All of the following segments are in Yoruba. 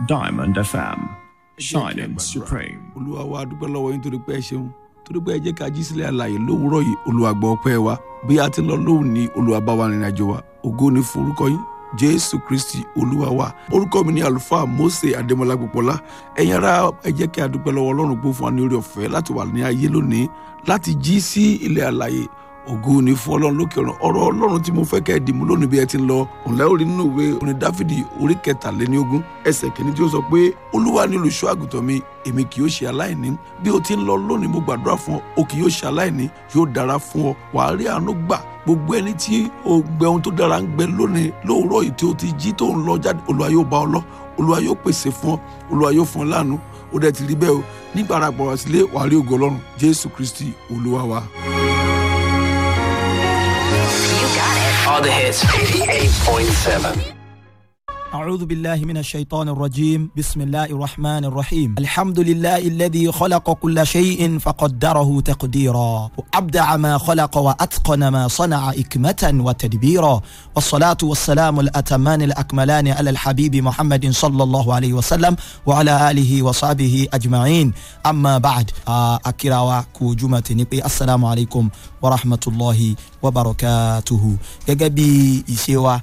Diamond FM, shining supreme. Olúwa wa, dúpẹ́ lọ́wọ́ yín torí pé ẹ ṣeun, torí pé ẹ jẹ́ ká jí sílẹ̀ àlàyé lówùúrọ̀ yìí. Olúwa, gbọ́ ọpẹ́ wa. Bí a ti ń lọ lóhùn ní, Olúwa, bá wa rìnrìn àjò wa. Ògo ni fún orúkọ yín, Jésù Kristi Olúwa wa. Orúkọ mi ni Àlùfáà Mósè Adémọlá Gbọpọlá. Ẹ̀yin ará, ẹ jẹ́ kí a dúpẹ́ lọ́wọ́ Ọlọ́run pé ó fún wa ní oore ọ̀fẹ́ láti wà ní ayé lónìí, láti jí sí ilẹ̀ àlàyé. Ògo ni fún Ọlọ́run lókè ọ̀run. Ọ̀rọ̀ Ọlọ́run tí mo fẹ́ kẹ́ ẹ dìmú lónìí bí ẹ ti ń lọ òǹlẹ́ orí nínú ìwé orin Dáfídì orí 23 ẹsẹ̀ 1 tí ó sọ pé, "Olúwa ni olùṣọ́ àgùntàn mi, èmi kì yóò ṣe aláìní." Bí o ti ń lọ lónìí, mo gbàdúrà fún ọ, o kì yóò ṣe aláìní. Yóò dára fún ọ, wàá rí àánú gbà. Gbogbo ẹni tí o gbẹ ohun tó dára ń gbẹ lónìí, lóòrọ̀ yìí tí o ti jí tó ń lọ jáde, Olúwa yóò bá ọ lọ, Olúwa yóò pèsè fún ọ, Olúwa yóò fún ọ láàánú. Ó dẹ̀ ti rí bẹ́ẹ̀ o. Nígbà ara pọ̀ wá sílé, wàá rí ògo Ọlọ́run. Jésù Kristi Olúwa wa. All the hits. 88.7. أعوذ بالله من الشيطان الرجيم. بسم الله الرحمن الرحيم. الحمد لله الذي خلق كل شيء فقدره تقديرا، وأبدع ما خلق وأتقن ما صنع إكمة وتدبيرا، والصلاة والسلام الأتمان الأكملان على الحبيب محمد صلى الله عليه وسلم وعلى آله وصحبه أجمعين. أما بعد، أكراوا كوجمة نبي، السلام عليكم ورحمة الله وبركاته. Gẹ́gẹ́ bí ìṣe wa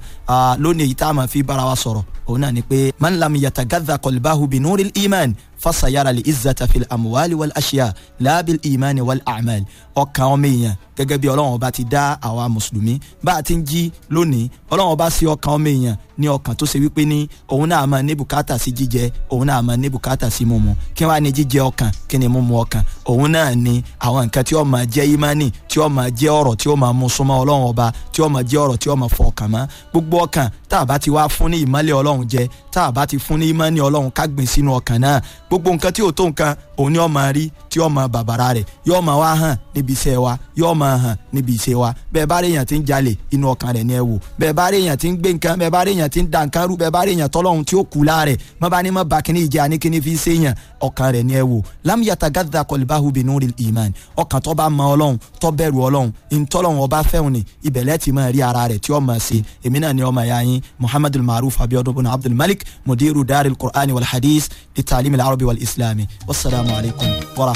lónìí, èyí tá a máa fi bára wa sọ̀rọ̀ òun náà ni pé man lam yatagadha qalbahu bi nuril iman fasayara li izzata fil amuwali wal ashiya laabil imani wal amal. Ọkàn ọmọ èèyàn, gẹ́gẹ́ bí Ọlọ́run Ọba ti dá àwa mùsùlùmí bá a ti ń jí lónìí, Ọlọ́run Ọba sí ọkàn ọmọ èèyàn ní ọkàn tó ṣe wípé ní òun náà máa ní bùkátà sí jíjẹ, òun náà máa ní bùkátà sí mímu. Kí wàá ní jíjẹ ọkàn? Kí ni mímu ọkàn? Òun náà ni àwọn nǹkan tí ó máa jẹ́ ìmánì, tí ó máa jẹ́ ọ̀rọ̀ tí ó máa mú súnmọ́ Ọlọ́run Ọba, tí ó máa jẹ́ ọ̀rọ̀ tí ó máa fọ ọkàn mọ́. Gbogbo ọkàn tá a bá ti wá fún ní ìmọ́lẹ̀ Ọlọ́run jẹ, tá a bá ti fún ní ìmọ́ni Ọlọ́run ká gbìn sínú ọkàn náà, gbogbo nǹkan tí ò tó nǹkan òun ni ó máa rí tí ó máa bàbàrà rẹ̀, yóò máa wá hàn níbi iṣẹ́ wa, yóò máa hàn níbi iṣẹ́ wa. Bẹ́ẹ̀ bá rí èèyàn tí ń jalè, inú ọkàn rẹ̀ ni ẹ wò. Bẹ́ẹ̀ bá rí èèyàn tí ń gbé nǹkan, bẹ́ẹ̀ bá rí èèyàn tí ń da nǹkan rú, bẹ́ẹ̀ bá rí èèyàn tọ́lọ́hun tí ó kú láàrẹ̀, má bá ní má ba kíní ìjà ní kíní fi ṣe èèyàn, ọkàn rẹ̀ ni ẹ wò. Lam yatagadda qalbahu binuril iman. Ọkàn tó bá mọ Ọlọ́run, tó bẹ̀rù Ọlọ́run, ìtọ́lọ́run Ọba fẹ́hùn ni ìbẹ̀lẹ̀ ti máa rí ara rẹ̀ tí ó máa ṣe. Èmi náà ni ọmọ ìyá yín, Muhammadul Maruf Abiodun bin Abdul Malik, mudiru daril Qur'ani wal hadith li ta'lim al arabi wal islami. Wasalaamu alaykum wa rahmatulah.